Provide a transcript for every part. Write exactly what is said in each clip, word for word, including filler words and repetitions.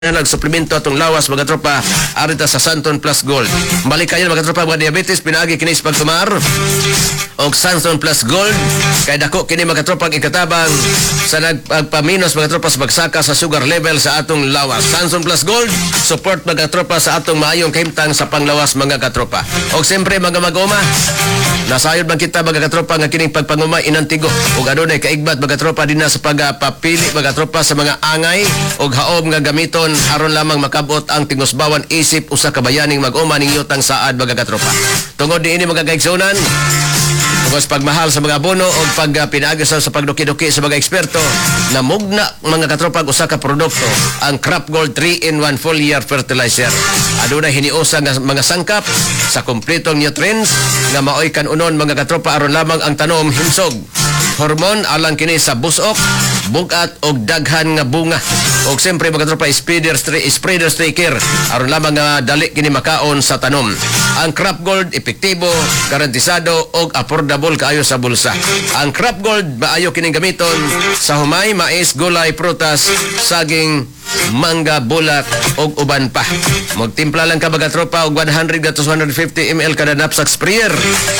Nag suplemento atong lawas, mga tropa, arita sa Santon Plus Gold. Malikayan, mga tropa, mga diabetes pinaagi kini sa pagtumar og Santon Plus Gold kay dako kini, mga tropa, ang ikatabang sa nagpaminos, mga tropa, sa pagsaka sa sugar level sa atong lawas. Santon Plus Gold support, mga tropa, sa atong maayong kahimtang sa panglawas, mga katropa. Og siyempre, mga mag-uma, nasayod man kita, mga katropa, nga kining pagpanguma inantigo ug adunay kaigbat, mga tropa, dinha sa pagpapili, mga tropa, sa mga angay ug haom nga gamiton aron lamang makabot ang tingusbawan isip usa ka bayaning mag-uma ning yutang saad, mga katropa. Tungod niini, mga kaigsunan, tungod sa pagmahal sa mga abono o pag uh, pinaagi sa pagduki-duki sa mga eksperto, namugna, mga katropa, usa ka produkto, ang Crop Gold three in one foliar fertilizer. Adunay hiniusa nga mga sangkap sa kompletong nutrients nga maoy kanunon, mga katropa, aron lamang ang tanom himsog. Hormone alang kini sa busok, bugat og daghan nga bunga. Og siyempre, mga tropa, spreader spreader striker aron lamang nga dali kini makaon sa tanom. Ang Crop Gold epektibo, garantisado og affordable kaayo sa bulsa. Ang Crop Gold maayo kining gamiton sa humay, mais, gulay, prutas, saging, mangga, bulak og uban pa. Magtimpla lang ka, mga tropa, og one hundred to one hundred fifty milliliters kada knapsack sprayer.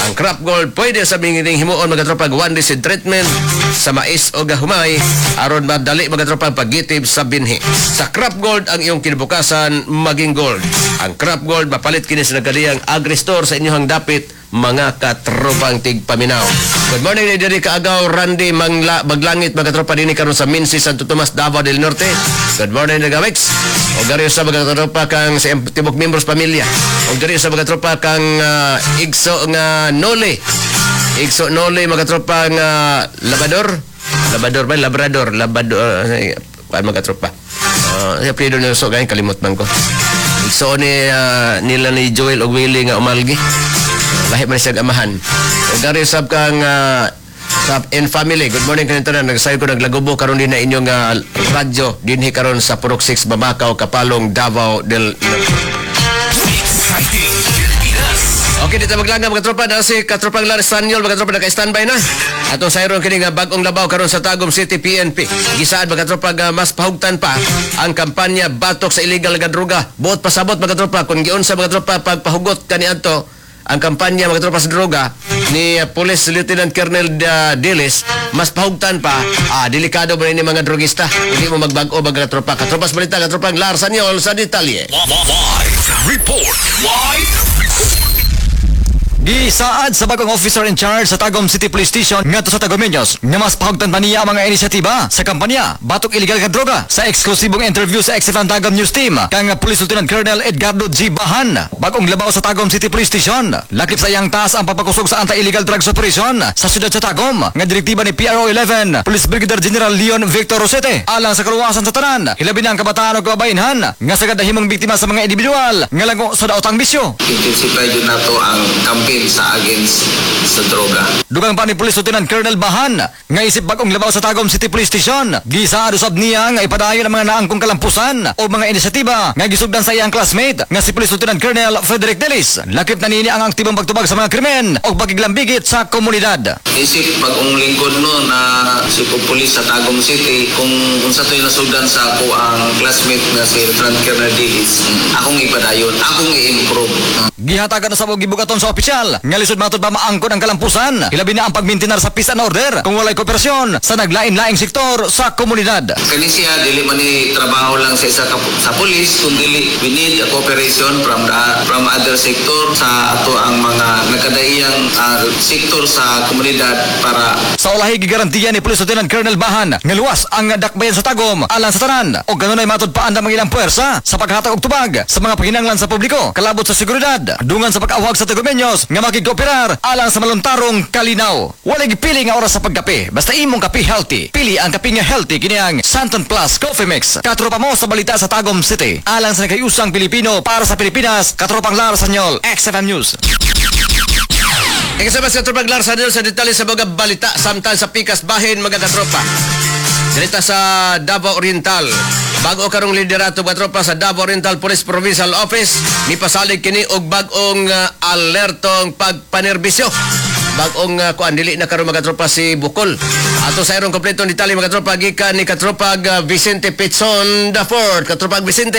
Ang Crop Gold pwede sa mingining himuon, mga tropa, one day seed treatment sa mais o humay aron madali, mga tropa, ang paggitib sa binhi. Sa Crop Gold, ang iyong kinabukasan maging gold. Ang Crop Gold mapalit kini sa nagkadiyang agri-store sa inyong dapit, mga katropang tigpaminaw. Good morning ni diri kaagaw Randy Mangla Maglangit, mga tropa, dinhi karon sa Minsi, Santo Tomas, Davao del Norte. Good morning, Nagawix. O diri sa mga tropa kang sa tibok membros pamilya. O diri sa mga tropa kang uh, Igso nga Nole. Igso Nole, mga tropa, nga Labador. Labador ba? Labrador. Labador. Uh, mga tropa. Uh, sa apelyido niya so gayon kalimot man ko. Igsoon ni ah, nila ni Joel og Willie nga umalgi. Lahi man siya amahan. Ug dari sab kang ah, sa in family. Good morning kanin tanan. Nagsayo ko naglagubo karon din na inyong ah, radyo dinhi karon sa Purok six, Babacao, Kapalong, Davao del Norte. Exciting Pilipinas. Okay, dito maglanga, mga tropa, na si katropang Larry Sanyol, mga tropa, naka-standby na. Atong sayron kini nga bag-ong labaw karon sa Tagum City P N P. Gisaad, mga tropa, nga mas pahugtan pa ang kampanya batok sa illegal nga droga. Buot pasabot, mga tropa, kung giunsa, mga tropa, pagpahugot kaniadto ang kampanya, mga tropa, sa droga ni uh, Police Lieutenant Colonel uh, Dilis, mas pahugtan pa, ah, delikado ba ni mga drogista. Hindi mo magbag-o, mga tropa. Katropas balita, katropang Lar Sanyol sa detalye. Live report. Live report. Gisaad sa bagong officer in charge sa Tagum City Police Station ngadto sa Tagumeños nga mas pahugtan pa niya ang mga inisyatiba sa kampanya Batok Illegal nga Droga. Sa eksklusibong interview sa X F M Tagum News Team kang Police Lieutenant Colonel Edgardo G. Bahan, bagong labaw sa Tagum City Police Station, lakip sa iyang task ang pagpakusog sa anti-illegal drugs operation sa siyudad sa Tagum nga direktiba ni P R O eleven Police Brigadier General Leon Victor Rosete alang sa kaluwasan sa tanan, hilabi na ang kabataan o kababayenhan nga sagad nahimong biktima sa mga individual nga lango sa daotang bisyo. Intensify jud nato ang campaign sa against sa droga. Dugang pa ni Police Lieutenant Colonel Bahan nga isip bagong labaw sa Tagum City Police Station. Gisaad usab niya nga ipadayon ang mga naangkong kalampusan o mga inisyatiba nga gisugdan sa iyang classmate nga si Police Lieutenant Colonel Frederick Delis. Lakip na niini ang aktibong pagtubag sa mga krimen o pagiglambigit sa komunidad. Isip bagong lingkod no na si Police sa Tagum City, kung unsa to'y nasugdan sa ako ang classmate nga si Lieutenant Colonel Dilis, akong ipadayon, akong i-improve. Gihatagan na sa gibugaton sa opisyal nga lisod matod pa maangkon ang kalampusan, hilabi na ang pagmintinar sa peace and order kung walay kooperasyon sa naglain-laing sektor sa komunidad. Kani siya dili man ni trabaho lang sa isa ka, sa police, kundi we need a cooperation from the from other sector sa ato ang mga nagkadaiyang ah, sektor sa komunidad para Sa ulahi, gigarantiya ni Police Lieutenant Colonel Bahan nga luwas ang dakbayan sa Tagum alang sa tanan o kanunay matod paandam ang ilang puwersa sa paghatag og tubag sa mga panginahanglan sa publiko kalabot sa seguridad, dungan sa pag-awhag sa Tagumeños nga makigkooperar alang sa maluntarong kalinaw. Walay gipili nga oras sa pagkape basta imong kape healthy. Pili ang kape nga healthy, kini ang Santon Plus Coffee Mix. Katropa mo sa balita sa Tagum City alang sa nakayusang Pilipino para sa Pilipinas, katropang Lara Sanyol, X F M News. Ikasama sa Tropang Lar sa sa detalye sa mga balita samtang sa pikas bahin, mga katropa. Dirita sa Davao Oriental. Bago karong liderato, mga tropa, sa Davao Oriental Police Provincial Office, mipasalig kini og bag-ong uh, alertong pagpanerbisyo. Bag-ong uh, kuan, dili na karon, mga tropa, si Bukol. Ato sa irong kompletong detalye, mga katropa, gikan ni Katropag uh, Vicente Pitson the Fourth. Katropag Vicente.